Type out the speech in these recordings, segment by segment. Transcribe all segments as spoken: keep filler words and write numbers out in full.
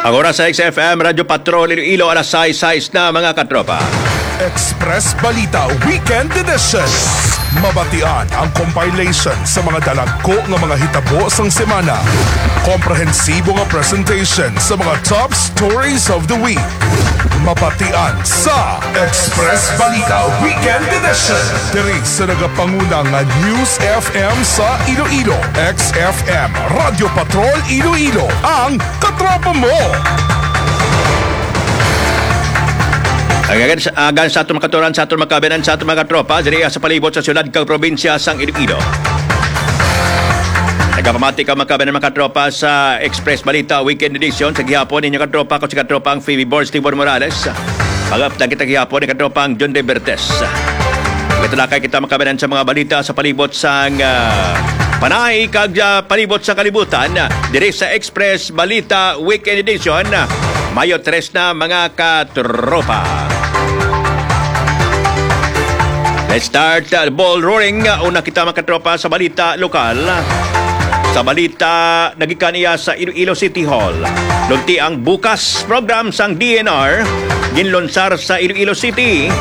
Ang oras sa X F M Radyo Patrol Iloilo, alas sais, sais na, mga katropa. Express Balita Weekend Edition. Mabatian ang compilation sa mga dalagko nga mga hitabo sang semana. Komprehensibo nga presentation sa mga top stories of the week. Mabatian sa Express Balita Weekend Edition. Diri sa nagapanguna nga News F M sa Iloilo, X F M, Radyo Patrol Iloilo, ang katropa mo. Agan sa, agan sa aton makaturan, sa aton makabinan, sa aton mga tropa, diri sa palibot sa syudad kag probinsya sang Iloilo. Nagapamati ka, makabinan, mga tropa, sa Express Balita Weekend Edition sa gihapon, ninyo katropa ko si katropang Phoebe Borges Tibor Morales. Pagaptan kita gihapon ni katropang John De Bertes. Magtalakay kita, makabinan, sa mga balita sa palibot sang, ah, panay kag, ah, palibot sa kalibutan, ah, diri sa Express Balita Weekend Edition, ah, Mayo tres na, mga katropa. Let's start, uh, ball rolling. Una kita, mga katropa, sa balita lokal. Sa balita, nagikan iya sa Iloilo City Hall. Lunti ang bukas program sang D N R, ginlunsar sa Iloilo City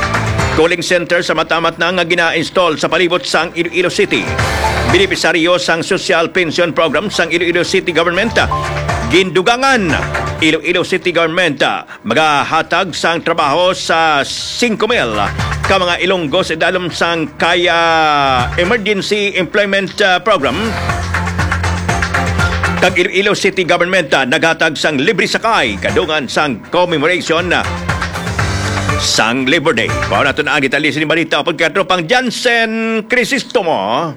Cooling Center sa matamat na nga gina-install sa palibot sang Iloilo City. Benepisaryo sang Social Pension Program sang Iloilo City Government, gindugangan Iloilo City Government, magahatag sang trabaho sa singko mil ka mga Ilonggo sa idalom sang Kaya Emergency Employment, ah, Program. Kag Iloilo City Government, ah, naghatag sang libre sakay kadungan sang commemoration, ah, sang Labor Day. Mao na to na ang detalye sa balita. Pagkatropang Jansen Crisostomo.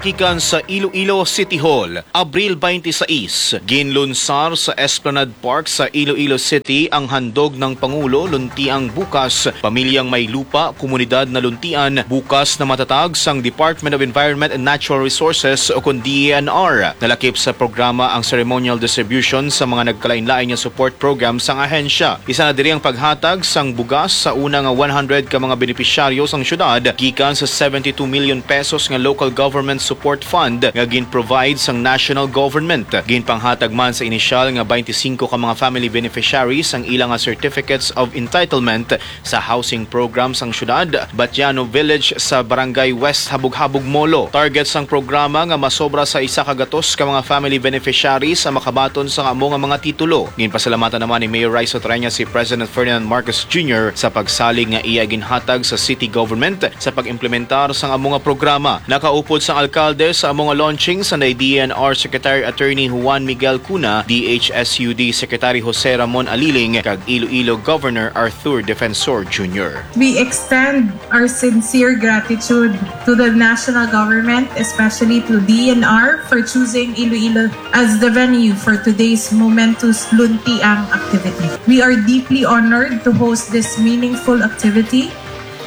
Gikan sa Iloilo City Hall, Abril twenty-six, ginlunsar sa Esplanade Park sa Iloilo City ang handog ng Pangulo, Luntiang Bukas, Pamilyang May Lupa, Komunidad na Luntian, bukas na matatag sang Department of Environment and Natural Resources o kon D E N R. Nalakip sa programa ang ceremonial distribution sa mga nagkalain-lain nga support program sang ahensya. Isa na diri ang paghatag sang bugas sa una nga one hundred ka mga benepisyaryo sang syudad gikan sa seventy-two million pesos nga local government support fund nga gin-provide sang national government. Ginpanghatag man sa inisyal nga twenty-singko ka mga family beneficiaries ang ila nga certificates of entitlement sa housing program sang syudad, Batiano Village sa Barangay West Habog-Habog, Molo. Target sang programa nga masobra sa isa ka gatos ka mga family beneficiaries ang makabaton sang amo nga mga titulo. Ginpasalamatan naman ni Mayor Raisa Treñas si President Ferdinand Marcos Junior sa pagsalig nga iya ginhatag sa city government sa pag-implementar sang amo nga programa. Nakaupod sang alkalde sa amo nga launching sanday D E N R Secretary Attorney Juan Miguel Cuna, D H S U D Secretary Jose Ramon Aliling, kag Iloilo Governor Arthur Defensor Junior. We extend our sincere gratitude to the national government, especially to D E N R, for choosing Iloilo as the venue for today's momentous Luntiang activity. We are deeply honored to host this meaningful activity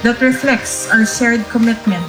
that reflects our shared commitment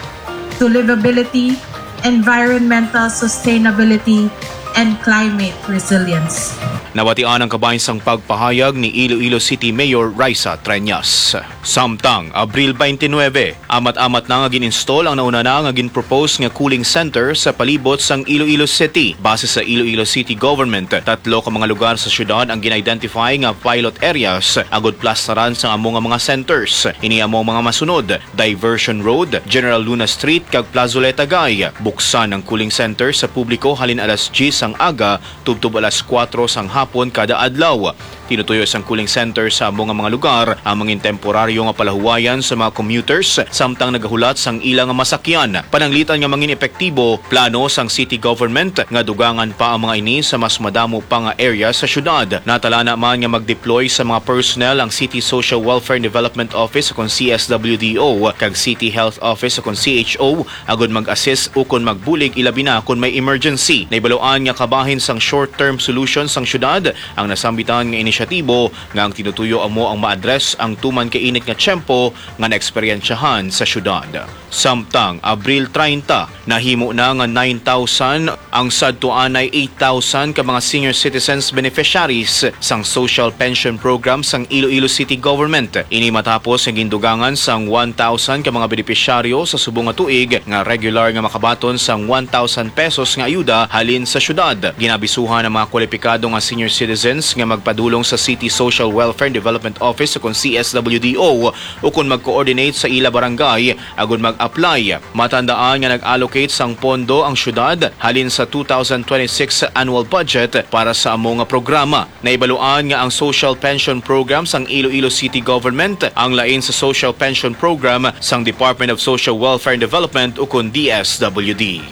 to livability, environmental sustainability, and climate resilience. Nabatian ang kabahin sang pagpahayag ni Iloilo City Mayor Raisa Treñas. Samtang, Abril twenty-nine, amat-amat na nga gin-install ang nauna na nga gin-propose nga cooling center sa palibot sang Iloilo City. Base sa Iloilo City Government, tatlo ka mga lugar sa syudad ang gin-identify nga pilot areas agud plastaran sa amo nga mga centers. Ini amo ang mga masunod: Diversion Road, General Luna Street, kag Plazoleta Guy. Buksan ang cooling center sa publiko halin alas diyes sang aga tubtob alas kuwatro sang hapon kada adlaw. Tinutuyo sang cooling center sa amo nga mga lugar ang mangin temporaryo nga palahuwayan sa mga commuters samtang nagahulat sang ila nga masakyan. Pananglitan nga mangin epektibo, plano sang city government nga dugangan pa ang mga ini sa mas madamo pa nga area sa syudad. Natalana man nga mag-deploy sa mga personnel ang City Social Welfare and Development Office o kon C S W D O kag City Health Office o kon C H O agud mag-assist ukon magbulig, ilabi na kon may emergency. Nahibaluan nga kabahin sang short-term solution sang syudad ang nasambitan nga inisyatibo nga ang tinutuyo amo ang ma-address ang tuman ka init nga tiyempo nga naeksperyensyahan sa syudad. Samtang Abril treinta, nahimo na nga nine thousand ang sadto anay eight thousand ka mga senior citizens beneficiaries sang Social Pension Program sang Iloilo City Government. Ini matapos nga gindugangan sang one thousand ka mga benepisyaryo sa subong nga tuig nga regular nga makabaton sang one thousand pesos nga ayuda halin sa syudad. Ginabisuhan ang mga kwalipikado nga senior citizens nga magpadulong sa City Social Welfare and Development Office ukon C S W D O ukon mag-coordinate sa ila barangay agud mag-apply. Matandaan nga nag-allocate sang pondo ang syudad halin sa two thousand twenty-six annual budget para sa amo nga programa. Naibaluan nga ang Social Pension Program sang Iloilo City Government ang lain sa Social Pension Program sang Department of Social Welfare and Development ukon D S W D.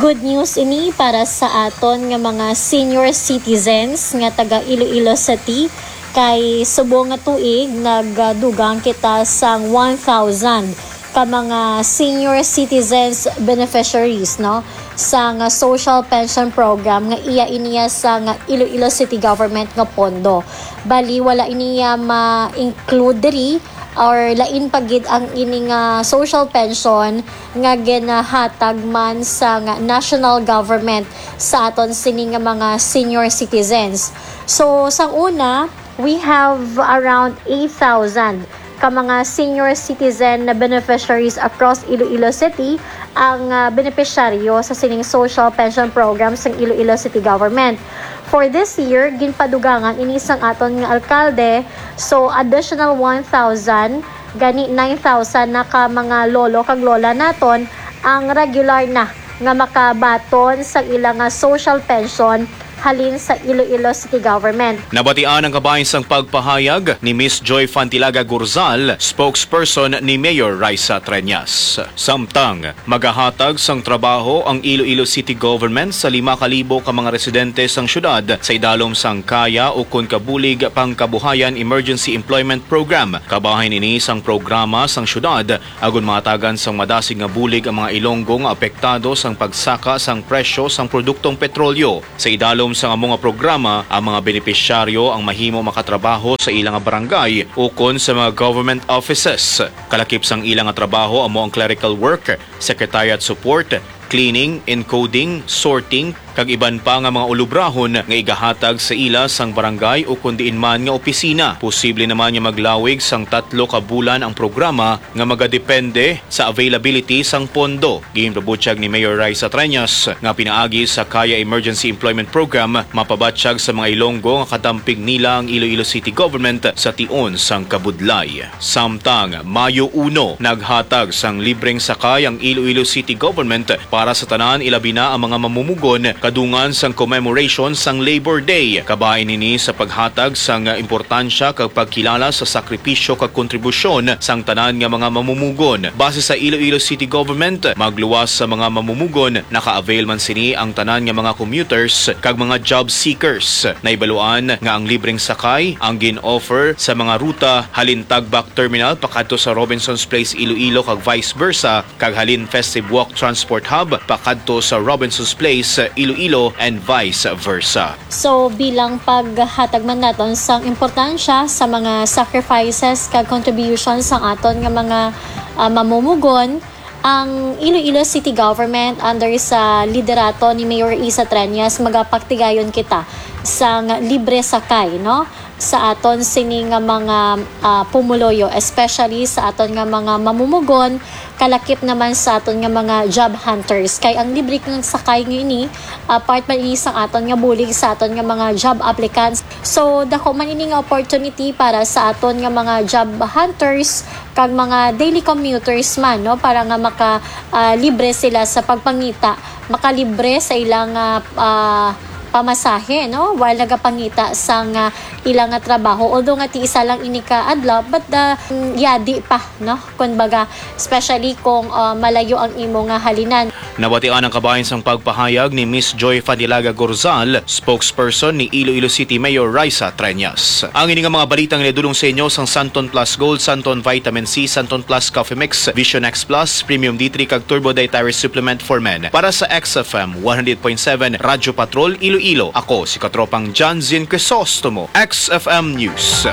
Good news ini para sa aton nga mga senior citizens nga taga Iloilo City, kay subong nga tuig nagdugang kita sang one thousand ka mga senior citizens beneficiaries, no, sa nga social pension program nga iya iniya sa nga Iloilo City Government nga pondo. Bali, wala iniya ma-include diri or lain pa gid ang ini nga social pension nga ginahatag man sa nga national government sa aton sini nga mga senior citizens. So, sang una, we have around eight thousand ka mga senior citizen na beneficiaries across Iloilo City ang, ah, benepisyaryo sa sining social pension program sang Iloilo City Government. For this year, ginpadugangan ini sang aton nga alkalde, so additional one thousand, gani nine thousand na ka mga lolo kag lola naton ang regular na nga makabaton sa ila nga social pension halin sa Iloilo City Government. Nabatian ang kabahin sang pagpahayag ni Miss Joy Fantilaga Gurzal, spokesperson ni Mayor Raisa Treñas. Samtang magahatag sang trabaho ang Iloilo City Government sa lima ka libo ka mga residente sang syudad sa idalom sang Kaya ukon Kabulig Pangkabuhayan Emergency Employment Program. Kabahin ini sang programa sang syudad agon mahatagan sang madasig nga bulig ang mga Ilonggo nga apektado sang pagsaka sang presyo sang produktong petrolyo. Sa idalom sang amo nga programa, ang mga benepisyaryo ang mahimo makatrabaho sa ila nga barangay ukon sa mga government offices. Kalakip sang ila nga trabaho amo ang clerical work, secretariat support, cleaning, encoding, sorting, kag iban pa nga mga ulubrahon nga igahatag sa ila sang barangay ukon diin man nga opisina. Posible naman nga maglawig sang tatlo ka bulan ang programa nga magadepende sa availability sang pondo. Ginpabutyag ni Mayor Raisa Treñas nga pinaagi sa Kaya Emergency Employment Program, mapabatyag sa mga Ilonggo nga katampig nila ang Iloilo City Government sa tion sang kabudlay. Samtang Mayo uno, naghatag sang libreng sakay ang Iloilo City Government para sa tanan, ilabi na ang mga mamumugon, kadungan sang commemoration sang Labor Day. Kabahin ini sa paghatag sang importansya kag pagkilala sa sakripisyo kag kontribusyon sang tanan nga mga mamumugon. Base sa Iloilo City Government, magluwas sa mga mamumugon, naka-avail man sini ang tanan nga mga commuters kag mga job seekers. Naibaluan nga ang libreng sakay ang gin-offer sa mga ruta halin Tagbak Terminal pakadto sa Robinson's Place, Iloilo, kag vice versa, kag halin Festive Walk Transport Hub pakadto sa Robinson's Place, Iloilo, and vice versa. So, bilang paghatag man naton sang importansya sa mga sacrifices kag contributions sang aton nga mga, ah, mamumugon, ang Iloilo City Government under sa liderato ni Mayor Isa Treñas, magapagtigayon kita sang libre sakay, no? Sa aton sini nga mga, ah, pumuluyo, especially sa aton nga mga mamumugon, kalakip naman sa aton nga mga job hunters. Kay ang libre nga sakay nga ini, ah, part man ini sang aton nga bulig sa aton nga mga job applicants. So, dako man ini nga opportunity para sa aton nga mga job hunters kag mga daily commuters man, no, para nga maka, ah, libre sila sa pagpangita, makalibre sa ilang, ah, ah, pamasahe, no, while nagapangita sang, ah, ila nga trabaho. Although nga ti isa lang ini ka adlaw, but the, mm, yadi pa, no? Kumbaga, especially kung, ah, malayo ang imo nga halinan. Nabatian ang kabahin sang pagpahayag ni Miss Joy Fanilaga Gorzal, spokesperson ni Iloilo City Mayor Raisa Treñas. Ang ini nga mga balitang nadulong sa inyo sang Santon Plus Gold, Santon Vitamin C, Santon Plus Coffee Mix, Vision X Plus, Premium D three kag Turbo Dietary Supplement for Men. Para sa X F M one hundred point seven Radyo Patrol Iloilo, ako si Katropang John Zin Crisostomo, X F M News.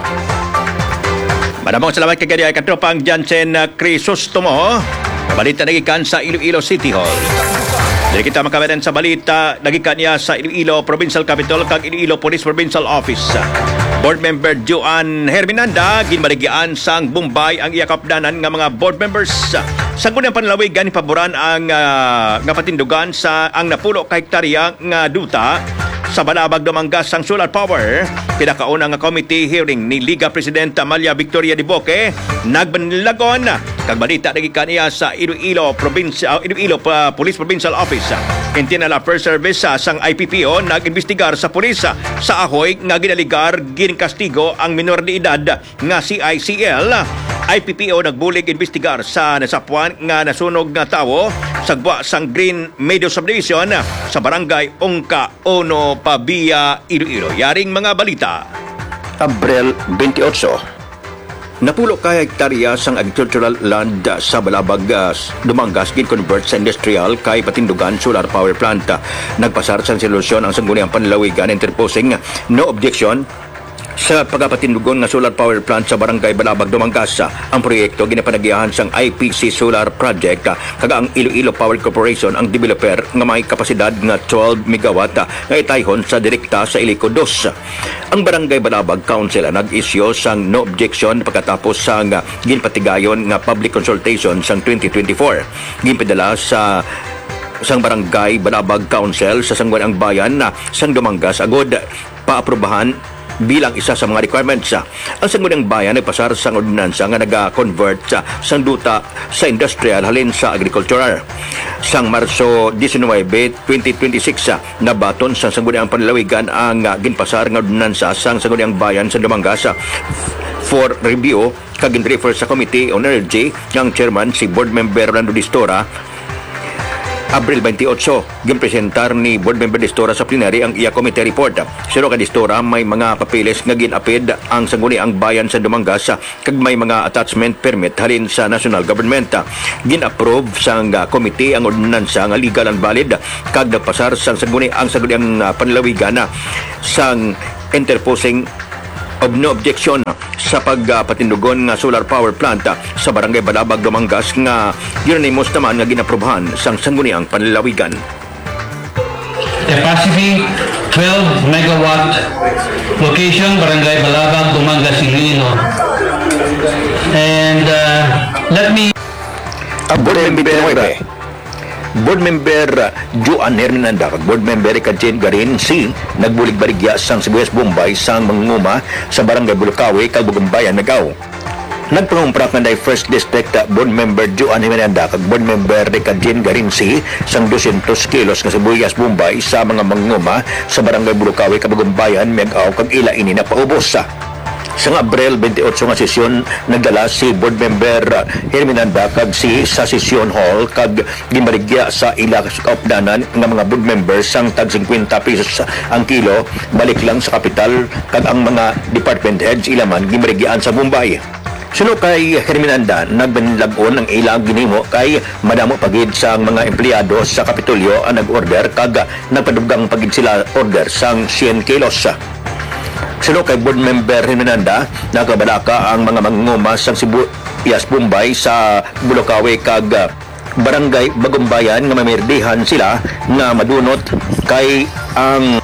Madamong salamat kay gani ay Katropang Jansen, uh, Crisostomo. Balita nagikan sa Iloilo City Hall. Diri kita makawatan sa balita nagikan niya sa Iloilo Provincial Capitol kag Iloilo Police Provincial Office. Board Member Joan Herminanda, ginbaligyan sang Bombay ang iya kapdanan nga mga board members. Sa gunang panlawigan, paboran ang, ah, nga patindugan sa ang napulo ka hektarya nga duta sa Balabag, Dumangas sang solar power. Pinakauna nga committee hearing ni Liga President Amalia Victoria Diboque nagbanlagon kag balita nagikan iya sa Iloilo Provincial, Iloilo pa, Police Provincial Office. Intinala First Service, ah, sang I P P O nag-imbestigar sa pulis, ah, sa ahoy nga ginaligar ginkastigo ang minor de edad nga C I C L. I P P O nagbulig imbestigar sa nasapwan nga nasunog nga tawo sa gwa sang Green Meadow Subdivision sa Barangay Ungka Uno, Pavia, Iloilo. Yaring mga balita. Abril twenty-eight. Napulo ka hektarya sang agricultural land sa Balabag, ah, Dumangas gin-convert sa industrial kay patindugan solar power plant. Nagpasar sang resolusyon ang Sangguniang Panlalawigan interposing no objection sa pagapatindugon nga solar power plant sa Barangay Balabag, Dumangas. Ang proyekto ginapanagyahan sang I P C Solar Project, ah, kag ang Iloilo Power Corporation ang developer nga may kapasidad nga twelve megawatt, ah, nga itayhon sa direkta sa Ilico Dos. Ang Barangay Balabag Council ang nag-isyu sang no objection pagkatapos sang, ah, ginpatigayon nga public consultation sang twenty twenty-four. Ginpadala sa sang Barangay Balabag Council sa Sangguniang Bayan, ah, sang Dumangas agud paaprubahan bilang isa sa mga requirements. Ang Sangguniang Bayan nagpasar sang ordinansa nga naga-convert sa, sang duta sa industrial halin sa agricultural. Sang Marso diecinuebe, twenty twenty-six, nabaton sang Sangguniang Panlalawigan ang, ah, ginpasar nga ordinansa sang Sangguniang Bayan sa Dumangas, ah, for review kag gin-refer sa Committee on Energy nga ang chairman si Board Member Rolando Distora. Abril twenty-eight, ginpresentar ni Board Member Distora sa plenary ang iya committee report. Suno kay Distora, may mga papeles nga gin-apid ang Sangguniang Bayan sa Dumangas kag may mga attachment permit halin sa national government. Gin-approve sang, ah, committee ang ordinansa nga legal and valid kag nagpasar sang Sangguni-, ang Sangguniang, ah, Panlalawigan, ah, sang interposing of no objection sa pagpatindugon nga solar power plant sa Barangay Balabag, Dumangas nga unanimous naman nga ginaprobahan sang Sangguniang Panlalawigan. Capacity, twelve megawatt. Location, Barangay Balabag, Dumangas, Iloilo. And, uh, let me Ang Board Member, Board Member Joan Hernanda kag Board Member Ricardin Garin C nagbulig baligya sang sibuyas Bombay sang mangunguma sa Barangay Bulukawi kag Bagumbayan, Miag-ao. Nagpangumpra kanday First District Board Member Joan Hernanda kag Board Member Ricardin Garin C sang dosyentos kilos nga sibuyas Bombay sa mga mangunguma sa Barangay Bulukawi kag Bagumbayan, Miag-ao, kag ila ini napaubos. Sang Abril twenty-eight nga sesyon, nagdala si Board Member Herminanda kag si sa session hall kag ginbaligya sa ila kaupdanan nga mga board members sang tag singkwenta pesos ang kilo, balik lang sa kapital kag ang mga department heads ila man ginbaligyaan sa Bombay. Suno kay Herminanda, nagbanlag-on ang ilang ginhimo kay madamo pa gid sang mga empleyado sa Kapitolyo ang nag-order kag nagpadugang pa gid sila order sang syen kilos. Suno kay Board Member Herminanda, nagabalaka ang mga mangunguma sang sibuyas Bombay sa Bulukawi kag, ah, Barangay Bagumbayan nga mamirdihan sila nga madunot kay ang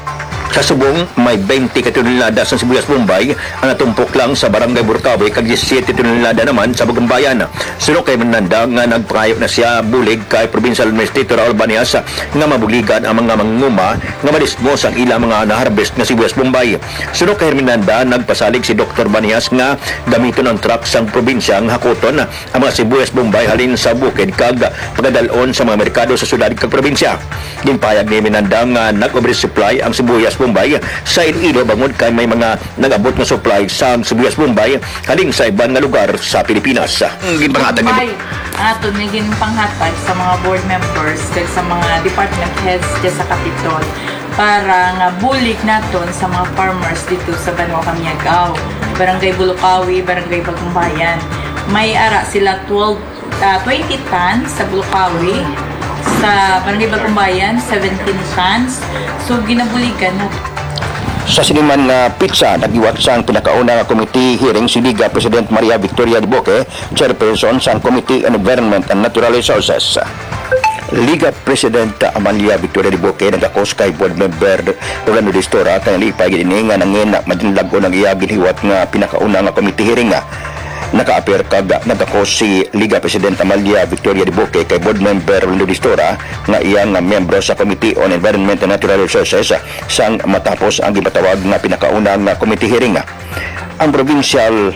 sa subong may twenty ka tonelada sang sibuyas Bombay ang natumpok lang sa Barangay Bulukawi kag diyesisiete tonelada naman sa Bagumbayan. Suno kay Hernanda nga nagpangayo na siya bulig kay Provincial Administrator Raul Banias nga mabuligan ang mga mangunguma nga madismos ang ilang mga na-harvest nga sibuyas Bombay. Suno kay Hernanda, nagpasalig si Doktor Banias nga gamiton ang truck sang probinsya nga hakuton ang mga sibuyas Bombay halin sa bukid kag pagadal-on sa mga merkado sa syudad kag probinsya. Ginpahayag ni Hernanda nga nag-oversupply ang sibuyas Bombay sa Iloilo bangod kay may mga nag-abot nga supply sang sibuyas Bombay halin sa iban nga lugar sa Pilipinas. Ang ginpanghatag ni Bombay, ato ni ginpanghatag sa mga board members kag sa mga department heads dyan sa Capitol para nga bulig naton sa mga farmers dito sa Banwa Kamiag-aw, Barangay Bulukawi, Barangay Bagumbayan. May ara sila twelve ah, twenty tons sa Bulukawi, sa Barangay Bagumbayan, seventeen tons. So, ginabuligan na. Sa sini man nga pitsa, naghiwat sang pinakauna nga committee hearing si Liga President Maria Victoria Duboque, chairperson sang Committee on Environment and Natural Resources. Liga President Amalia Victoria Duboque nagakos kay Board Member Rolando Distora kay nalipay gid ini nga nangin madinlag-on ang iya ginhiwat nga pinakauna nga committee hearing. Nakaapir kag nagakos si Liga President Amalia Victoria Duboque kay Board Member Rolando Distora nga iya nga miyembro sa Committee on Environment and Natural Resources sang matapos ang ginpatawag nga pinakauna nga committee hearing. Ang Provincial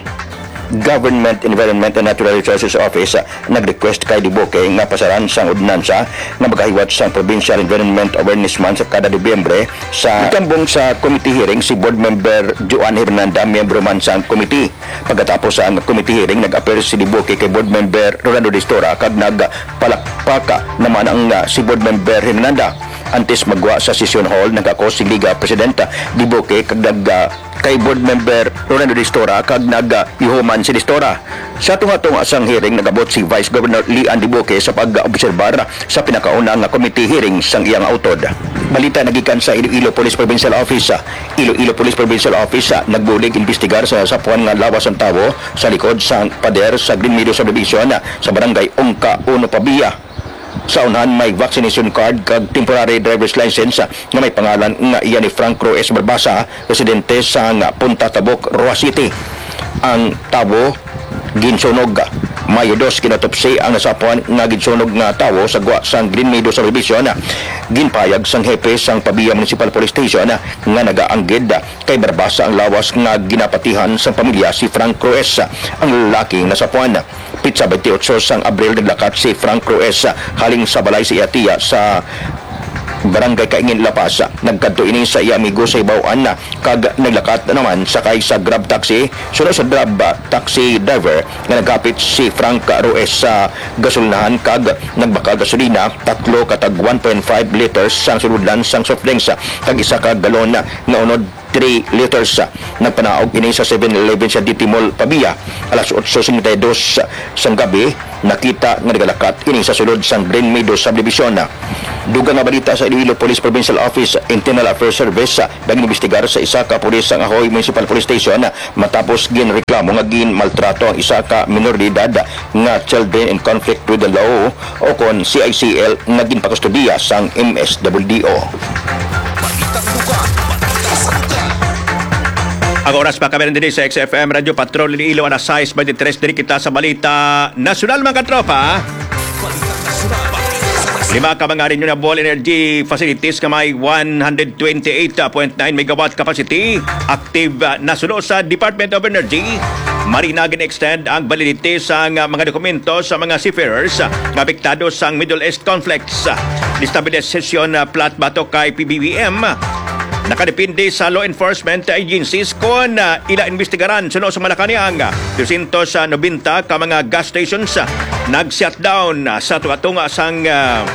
Government Environment and Natural Resources Office nag-request kay Duboque nga pasaran sang ordinansa nga magahiwat sang Provincial Environment Awareness Month sa kada Nobyembre sa gitambong sa committee hearing si Board Member Joan Hernanda, miyembro man sang committee. Pagkatapos sang committee hearing, nag-appear si Duboque kay Board Member Rolando Distora kag nagpalakpak naman ang, ah, si Board Member Hernanda. Antes magwa sa session hall, nagakos si Liga Presidenta Duboque kag nag, ah, kay Board Member Rolando Distora kag nag, ah, yuhuman si Distora. Sa tunga-tunga sang hearing, nagabot si Vice Governor Lian Duboque sa pag-obserbar sa pinakauna nga committee hearing sang iyang utod. Balita nagikan sa Iloilo Police Provincial Office. Iloilo Police Provincial Office, ah, nagbulig imbestigar sa sapuan nga lawas sang tawo sa likod sang pader sa Green Meadow Subdivision, ah, sa Barangay Ungka, Uno Pavia. Sa unhan, may vaccination card kag temporary driver's license, ah, nga may pangalan nga iya ni Frank Roes Barbasa, residente sa nga Punta Tabok, Roxas City. Ang tawo ginsunog. Mayo dos, gin-autopsy ang nasapuan nga ginsunog nga tawo sa gwa sang Green Meadow Subdivision. Ginpahayag sang hepe sang Pavia Municipal Police Station nga nagaanggid kay Barbasa ang lawas nga ginapatihan sang pamilya si Frank Roes, ang lalaki nga nasapuan. Pitsa twenty-eight sang Abril, naglakat si Frank Roes halin sa balay sa iya tiya sa Barangay Kaingin, La Paz. Nagkadto ini sa iya amigo sa Hibaw-an kag naglakat naman sakay sa Grab taxi. Suno sa Grab taxi driver nga nagkapit si Frank Roes sa gasolinahan kag nagbakal gasolina, tatlo ka tag one point five liters sang sulodlan sang soft drinks kag isa ka galon nga unod three liters. Nagpanaog ini sa Seven Eleven sa D T Mall, Pavia, alas otso cincuenta y dos sang gabi. Nakita nga nagalakat ini sa sulod sang Green Meadow Subdivision. Dugang nga balita sa Iloilo Police Provincial Office Internal Affairs Service, nag-imbestigar sa isa ka pulis sang Ahoy Municipal Police Station matapos ginreklamo nga ginmaltrato ang isa ka minor de edad nga children in conflict with the law o kon C I C L nga ginpakustodiya sang M S W D O. Ang oras pa kami diri sa X F M Radio Patrol Iloilo, alas sais twenty-three, diri kita sa balita nasyonal, mga katropa. Lima ka mga renewable energy facilities nga may one hundred twenty-eight point nine megawatt capacity active, ah, na suno sa Department of Energy. Marina, gin-extend ang validity sang, ah, mga dokumento sa mga seafarers, ah, nga apektado sang Middle East conflicts. Destabilization, ah, plot batok kay P B B M. Nakadepende sa law enforcement agencies kon, ah, ila imbestigaran. Suno sa Malacañang, dosyentos nobenta ka mga gas stations, ah, nag-shutdown, ah, sa tunga-tunga sang, ah,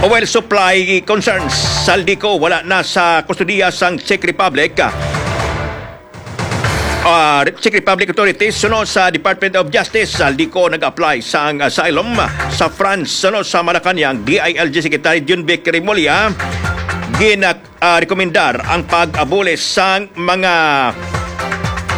oil supply concerns. Zaldy Co wala na sa kustodiya sang Czech Republic. Ah, Czech Republic authorities, suno sa Department of Justice, Zaldy Co nag-apply sang asylum sa France. Suno sa Malacañang, D I L G Secretary Junvic Remulla, gina-, ah, rekomendar ang pag-abuli sang mga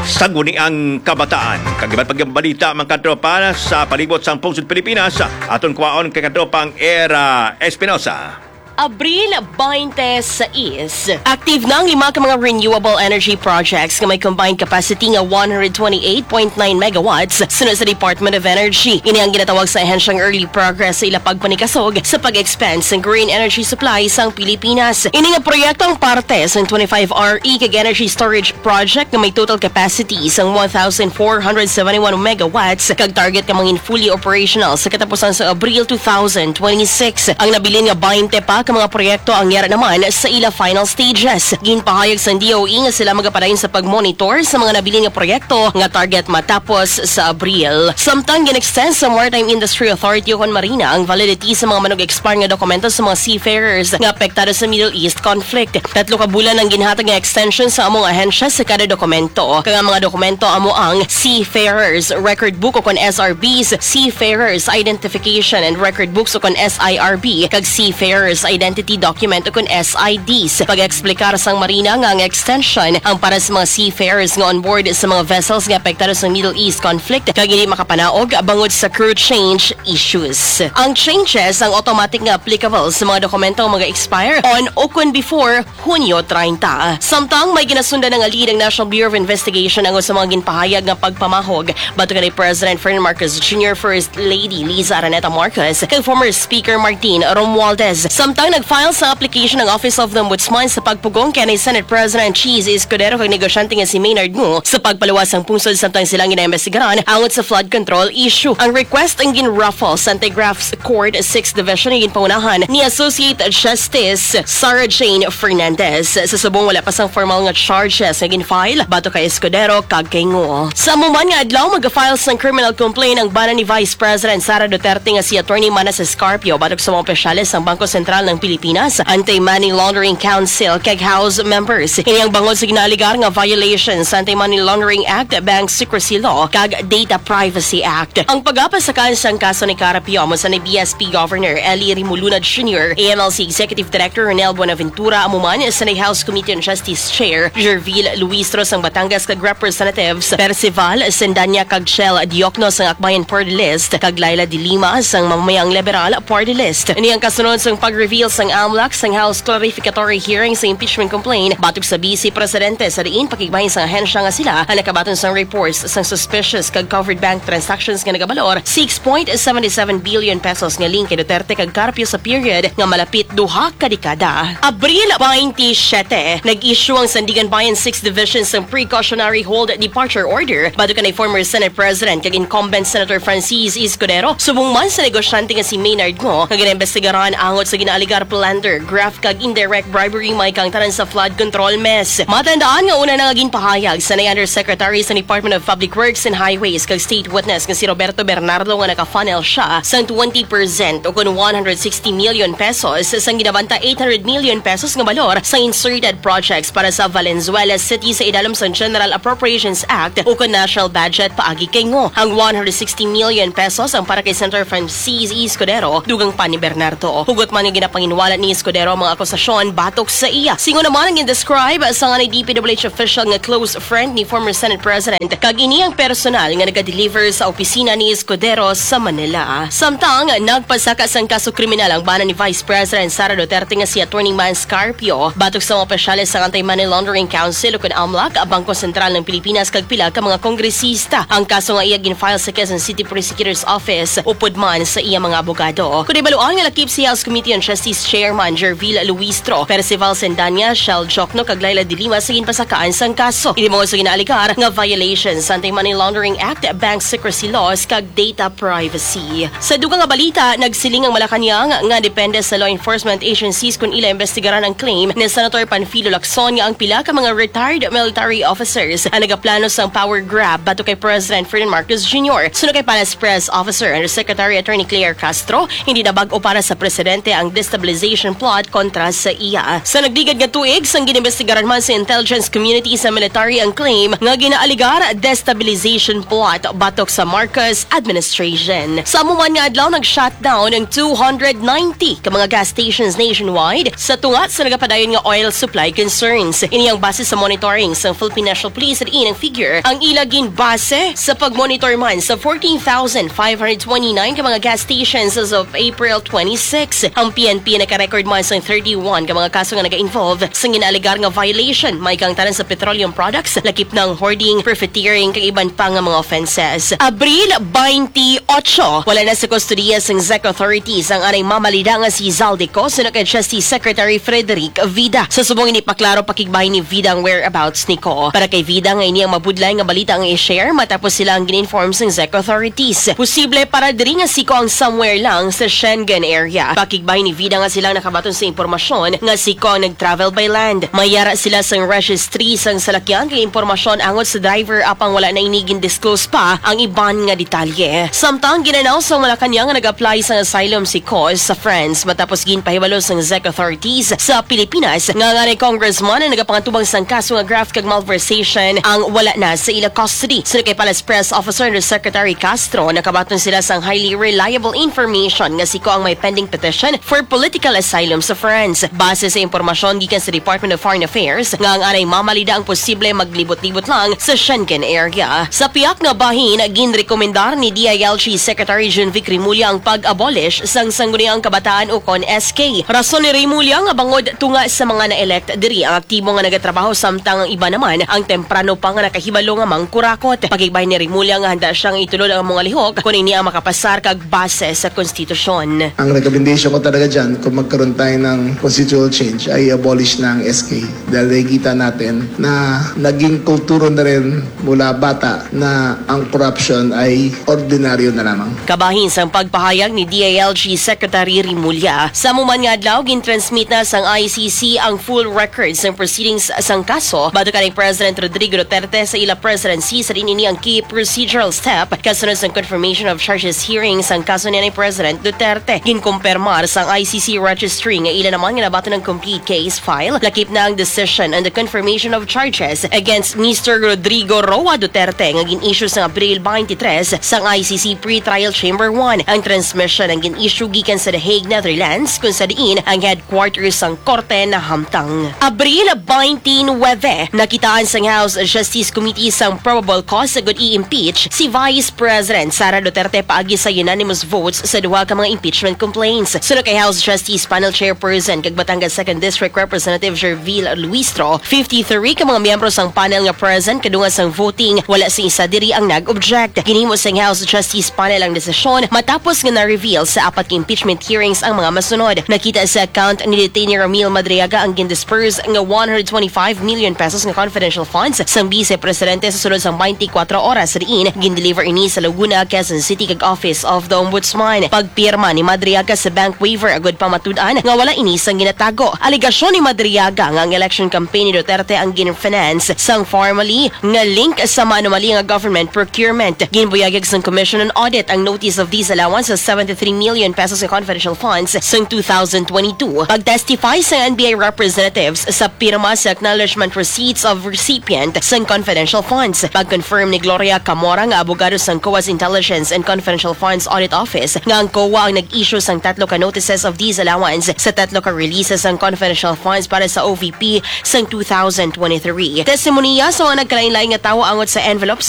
sangguniang kabataan. Kag iban pang balita, mga katropa, sa palibot sang pungsod Pilipinas, aton kwaon kay katropang Era Espinosa. Abril baynte sais, active na ang lima ka mga renewable energy projects nga may combined capacity nga one hundred twenty-eight point nine megawatts, suno sa Department of Energy. Ini ang ginatawag sa ahensyang early progress sa ila pagpanikasog sa pag-expand sang green energy supply sang Pilipinas. Ini nga proyekto ang parte sang twenty-five R E kag energy storage project nga may total capacity sang one thousand four hundred seventy-one megawatts kag target nga mangin fully operational sa katapusan sa Abril two thousand twenty-six. Ang nabilin nga baynte pa ka mga proyekto ang yara naman sa ila final stages. Ginpahayag sang D O E nga sila magapadayon sa pagmonitor sa mga nabilin nga proyekto nga target matapos sa Abril. Samtang gin-extend sa Maritime Industry Authority o kon Marina ang validity sa mga manog-expire nga dokumento sa mga seafarers nga apektado sa Middle East conflict. Tatlo ka bulan ang ginhatag nga extension sa among ahensya sa kada dokumento. Kag ang mga dokumento amo ang Seafarers Record Book o kon S R Bs, Seafarers Identification and Record Books o kon S I R B, kag Seafarers Identity Document o kon S I Ds. Pag-eksplikar sang Marina nga ang extension ang para sa mga seafarers nga on board sa mga vessels nga apektado sa Middle East conflict kag hindi makapanaog bangod sa crew change issues. Ang changes ang automatic nga applicable sa mga dokumento nga mag-expire on o kon before Hunyo treinta. Samtang may ginasundan na nga lead ang National Bureau of Investigation ang sa mga ginpahayag nga pagpamahog batok kay President Ferdinand Marcos Junior, First Lady Liza Araneta Marcos, kag former Speaker Martin Romualdez. Samtang nag-file sa application ang Office of the Ombudsman sa pagpugong kay Senate President Chiz Escudero kag negosyante nga si Maynard Ngo sa pagpaluwas sang pungsod samtang sila ang ginaimbestigaran angot sa flood control issue. Ang request ang gin-raffle sa Anti-Graft Court Sixth Division nga ginpangunahan ni Associate Justice Sarah Jane Fernandez. Sa subong wala pa sang formal nga charges nga gin-file batok kay Escudero kag kay Ngo. Sa amo man nga adlaw, mag-file sang criminal complaint ang bana ni Vice President Sara Duterte nga si Attorney Manases Carpio batok sa mga opisyales sang Bangko Sentral ng Pilipinas, Anti-Money Laundering Council, kag House members. Ini ang bangod sa ginaaligar nga violation sa Anti-Money Laundering Act, Bank Secrecy Law, kag Data Privacy Act. Ang pagapasakan sang kaso ni Carpio amo sa ni B S P Governor Eli Rimuluna Junior, A M L C Executive Director Ronel Buenaventura, amo man sa ni House Committee on Justice Chair Gerville Luistro sang Batangas kag Representatives Percival Sendanya kag Chel Diokno sang Akbayan Party List kag Laila de Lima sang Mamamayang Liberal Party List. Ini ang kasunod sang pag-reveal sang amlak sang House clarificatory hearing sa impeachment complaint batok sa Vice Presidente sa diin pakigbahin sang ahensya nga sila ang nakabaton sang reports sang suspicious kag covered bank transactions nga nagabalor six point seven seven billion pesos nga link kay Duterte kag Carpio sa period nga malapit duha ka dekada. Abril twenty-seven, nag-issue ang Sandiganbayan Sixth Division sang precautionary hold departure order batok kanay former Senate President kag incumbent Senator Francis Escudero subong man sa negosyante nga si Maynard Ngo nga ginaimbestigaran angot sa ginaaligar plunder, graft kag indirect bribery may kang tanan sa flood control mess. Matandaan nga una na nga ginpahayag sa ni Undersecretary sa Department of Public Works and Highways kag State Witness nga si Roberto Bernardo nga naka-funnel siya sang twenty percent o kon one hundred sixty million pesos sang ginabanta eight hundred million pesos nga balor sa inserted projects para sa Valenzuela City sa idalom sang General Appropriations Act o kon national budget paagi kay Ngo. Ang one hundred sixty million pesos ang para kay Senator Francis Escudero, dugang pa ni Bernardo. Hugot man nga ginapanginwala ni Escudero ang mga akusasyon batok sa iya. Singon naman ang gin-describe sa nga ni D P W H official nga close friend ni former Senate President, kag ini ang personal nga naga-deliver sa opisina ni Escudero sa Manila. Samtang nagpasaka sang kaso kriminal ang bana ni Vice President Sara Duterte nga si Attorney Mans Carpio batok sa mga opisyales sang Anti-Money Laundering Council o kon amlac, Bangko Sentral ng Pilipinas kag pila ka mga kongresista. Ang kaso nga iya gin-file sa Quezon City Prosecutor's Office upod man sa iya mga abogado. Kon ibaluan nga lakip si House Committee on Justice Chairman Gerville Luistro, Percival Sendanya, Shell Jokno kag Laila de Lima sa ginpasakaan sang kaso. Ini mga sa ginaaligar nga violations sa Anti-Money Laundering Act, Bank Secrecy Laws kag data privacy. Sa dugang nga balita, nagsiling ang Malacañang nga depende sa law enforcement agencies kung ila imbestigaran ang claim ni Senator Panfilo Lacson nga ang pila ka mga retired military officers ang nagaplano sang power grab batok kay President Ferdinand Marcos Junior. Suno kay Palace Press Officer Undersecretary Attorney Claire Castro, hindi na bag-o para sa presidente ang destabilization plot kontra sa iya. Sa nagligad nga tuig, sang ginimbestigaran man sa intelligence community sa military ang claim nga ginaaligar destabilization plot batok sa Marcos administration. Sa amo man nga adlaw, nag-shutdown ang two hundred ninety ka mga gas stations nationwide sa tunga sa nagapadayon nga oil supply concerns. Ini ang base sa monitoring sa Philippine National Police, diin ang figure ang ila ginbase sa pagmonitor man sa fourteen thousand five hundred twenty-nine ka mga gas stations as of April twenty-six. Ang P N P naka-record man sa thirty-one ka mga kaso nga naga-involve sa ginaaligar nga violation, may kang tanan sa petroleum products, lakip ng hoarding, profiteering, kag iban pa nga mga offenses. Abril twenty-eight, wala na sa kustodiya sang ZEC authorities ang anay mamalida nga si Zaldy Co, suno kay Justice Secretary Frederick Vida. Sa subong ini, paklaro pakigbahin ni Vida ang whereabouts ni Co. Para kay Vida nga ini ang mabudlay nga balita ang i-share matapos sila ang gin-inform sang ZEC authorities. Posible para diri nga si Co ang somewhere lang sa Schengen area. Pakigbahin ni Vida nga sila nakabaton sa impormasyon nga si Kong nag-travel by land. May yara sila sang registry sang salakyan kag impormasyon angot sa driver, apang wala na ini gin-disclose pa ang iban nga detalye. Samtang gin-announce sang Malacañang nga nag-apply sang asylum si Kong sa France matapos ginpahibalo sang zec authorities sa Pilipinas nga ang anay congressman ang nagapangatubang sang kaso nga graft kag malversation ang wala na sa ila custody. Suno kay Palace Press Officer Undersecretary Castro, nakabaton sila sang highly reliable information nga si Kong may pending petition for political asylum sa France. Base sa impormasyon gikan sa Department of Foreign Affairs nga ang anay mamalida ang posible maglibot-libot lang sa Schengen area. Sa pihak nga bahin, ginrekomendar ni D I L G Secretary Jun Vic Remulla ang pag-abolish sang Sangguniang Kabataan ukon S K. Rason ni Remulla nga bangod tunga sa mga na-elect diri ang aktibo nga nagatrabaho samtang ang iba naman ang temprano pa nga nakahibalo nga mangkurakot. Pakigbahin ni Remulla nga handa siya nga itulod ang mga lihok kon ini ang makapasar kag base sa konstitusyon. Ang recommendation ko talaga dyan, kung magkaroon tayo ng constitutional change, ay abolish na ang S K. Dahil nakikita natin na naging kulturo na rin mula bata na ang corruption ay ordinaryo na lamang. Kabahin sang pagpahayag ni D I L G Secretary Remulla, sa amo man nga adlaw, gintransmit na sang I C C ang full records sang proceedings sang kaso batok kanhi President Rodrigo Duterte sa ila presidency. Sa diin ini ang key procedural step kasunod sang confirmation of charges hearing sang kaso ni President Duterte. Ginkumpirmar sang I C C registry nga ila naman nga nabaton ang complete case file. Lakip na ang decision on the confirmation of charges against Mister Rodrigo Roa Duterte nga gin-issue sang Abril twenty-three sang I C C Pretrial Chamber one. Ang transmission ang gin-issue gikan sa The Hague, Netherlands, kung sa diin ang headquarters sang korte nahamtang. Abril twenty-nine, nakitaan sang House Justice Committee sang probable cause sa gud i-impeach si Vice President Sara Duterte paagi sa unanimous votes sa duha ka mga impeachment complaints. Suno kay House Justice Panel Chairperson kag Batangas Second District Representative Gerville Luistro, fifty-three ka mga miyembro sang panel nga present kadungan sang voting, wala sing isa diri ang nag-object. Ginhimo sang House Justice Panel ang desisyon matapos nga na-reveal sa apat ka impeachment hearings ang mga masunod. Nakita sa account ni Detainee Ramil Madriaga ang gindisperse nga one hundred twenty-five million pesos nga confidential funds sang Vice Presidente sa sulod sang twenty-four oras, diin gindeliver ini sa Laguna, Quezon City, kag Office of the Ombudsman. Pagpirma ni Madriaga sa bank waiver agud pamatud-an nga wala ini sang ginatago. Alegasyon ni Madriaga nga ang election campaign ni Duterte ang gin-finance sang formally nga link sa manumalya nga government procurement. Ginbuyagyag sang Commission on Audit ang notice of disallowance sa seventy-three million pesos nga confidential funds sang two thousand twenty-two. Pag-testify sang N B I representatives sa pirma sa acknowledgement receipts of recipient sang confidential funds. Pag-confirm ni Gloria Camora nga abogado sang COA's Intelligence and Confidential Funds Audit Office nga ang COA ang nag-issue sang tatlo ka notices of disallowance sa tatlo ka releases sang confidential funds para sa O V P sang two thousand twenty-three. Testimonya sa mga nagkalain-lain nga tawo angot sa envelopes